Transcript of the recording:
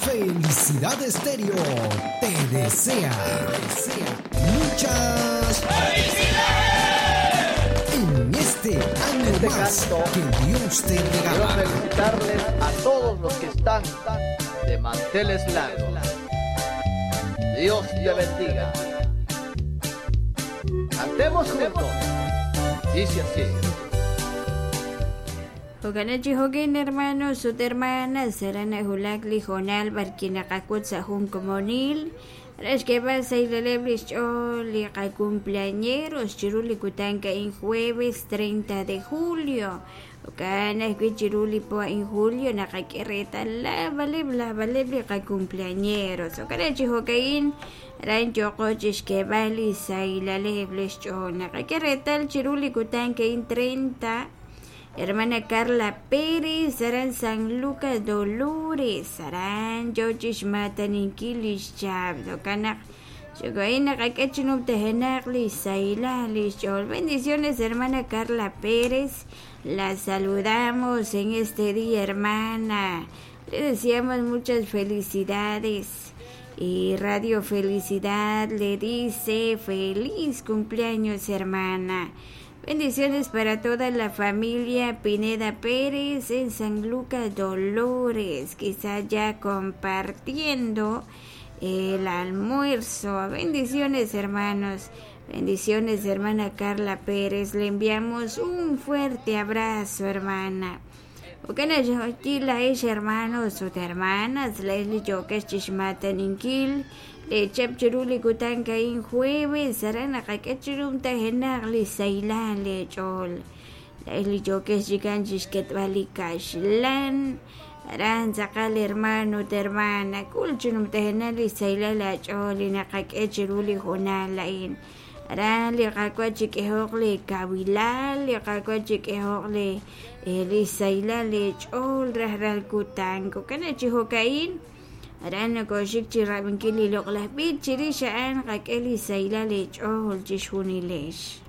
Felicidad Estéreo te desea, muchas ¡Felicidades! En este año Este más canto que Dios te Quiero regala. felicitarles a todos los que están de manteles largos. Dios te bendiga. Cantemos juntos. Dice así. Hokanachi hokin hermanos ut hermanas serana hulak li jonal barkinaqakut sa jun komonil re xk'eeb'al saylaleb' li xch'ool li qacumpleañeros chiru li kutan ka'in jueves 30 de julio jo'kan ajwi' chiru li po a'in julio naqak'e reetal laabaleb' laabaleb' li qacumpleañeros jo'kan chi jo'ka'in aran yooqo chixk'eeb'al li saylaleb' li xch'ool naqak'e reetal chiru li kutan ka'in 30 Hermana Carla Pérez, aran San Lucas Dolores, aran yochix mataninkil lix chab, jo'kan Xo'kain naqak'e chinumtajenaq li saylal li xch'ool. Bendiciones, hermana Carla Pérez. La saludamos en este día, hermana. Le deseamos muchas felicidades. Y Radio Felicidad le dice feliz cumpleaños, hermana. Bendiciones para toda la familia Pineda Pérez en San Lucas Dolores, quizá ya compartiendo el almuerzo. Bendiciones, hermanos. Bendiciones, hermana Carla Pérez. Le enviamos un fuerte abrazo, hermana. Okana la hermanos ut hermanas, la li yokex chixmataninkil, le chap chiru li kutan ka'in jueves, aran naqak'e chirum tajenaq li saylan le ch'ool. La li yokex chikan chixketb'al li kaxlan, aran tz'aqal hermano ut hermana, kul chinum tajenaq li saylal la ch'ool li naqak'e chiru li jonal a'in. Aran li qak'wa chik'ejoq li kawilal, li qak'wa chik'ejoq li li saylal li ch'ool rajlal kutan. Jo'kan chi jo'ka'in aran nokoxik chi rab'inkil li loq'laj b'ich chirix a'an qak'e li saylal li ch'ool chixjunilex.